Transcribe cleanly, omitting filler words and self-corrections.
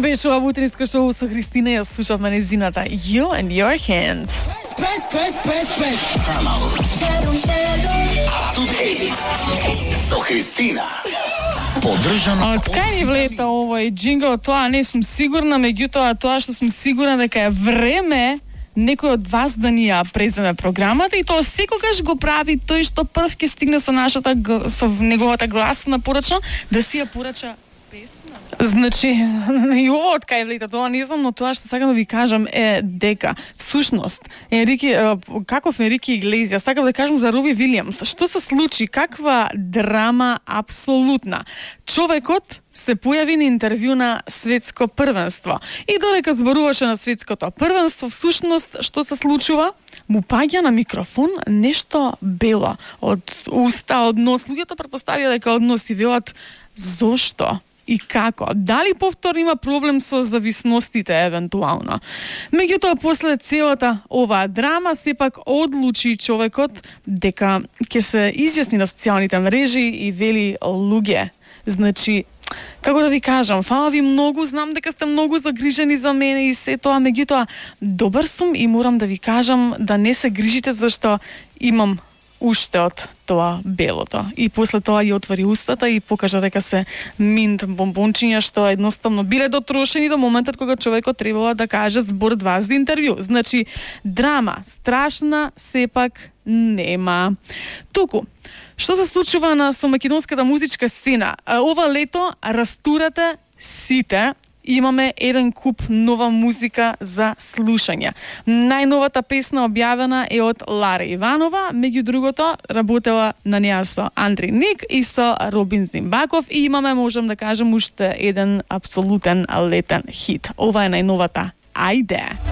Беше ова утринско шоу со Христина, ја слушавме незината You and Your Hand. Со Христина. Поддржано. Од кај ни влета овој джингл, тоа не сум сигурна, меѓутоа тоа што сум сигурна дека е време некој од вас да ни ја преземе програмата, и тоа секогаш го прави тој што прв ќе стигне со неговата гласна порача, да си ја порача песна. Значи, и ово од кај влета, тоа не знам, но тоа што сакам да ви кажам е дека всушност каков Енрике Иглезијас, сакам да кажам за Роби Вилијамс, што се случи, каква драма апсолутна. Човекот се појави на интервју на светско првенство и додека зборуваше на светското првенство, всушност што се случува? Му паѓа на микрофон нешто бело од уста, од нос. Луѓето претпоставија дека од нос и велат зошто и како? Дали повторно има проблем со зависностите евентуално? Меѓутоа, после целата оваа драма, сепак одлучи човекот дека ќе се изјасни на социјалните мрежи и вели луѓе. Значи, како да ви кажам, фала ви многу, знам дека сте многу загрижени за мене и се тоа, меѓутоа, добар сум и морам да ви кажам да не се грижите зашто имам уште од тоа белото. И после тоа ја отвори устата и покажа дека се минт бомбончиња што едноставно биле дотрошени до моментот кога човекот требало да каже збор 2 за интервју. Значи, драма страшна сепак нема. Туку, што се случува со македонската музичка сцена? Ова лето растурате сите. Имаме еден куп нова музика за слушање. Најновата песна објавена е од Лара Иванова, меѓу другото работела на неа со Андри Ник и со Робин Зимбаков, и имаме, можам да кажем, уште еден апсолутен летен хит. Ова е најновата Ајде.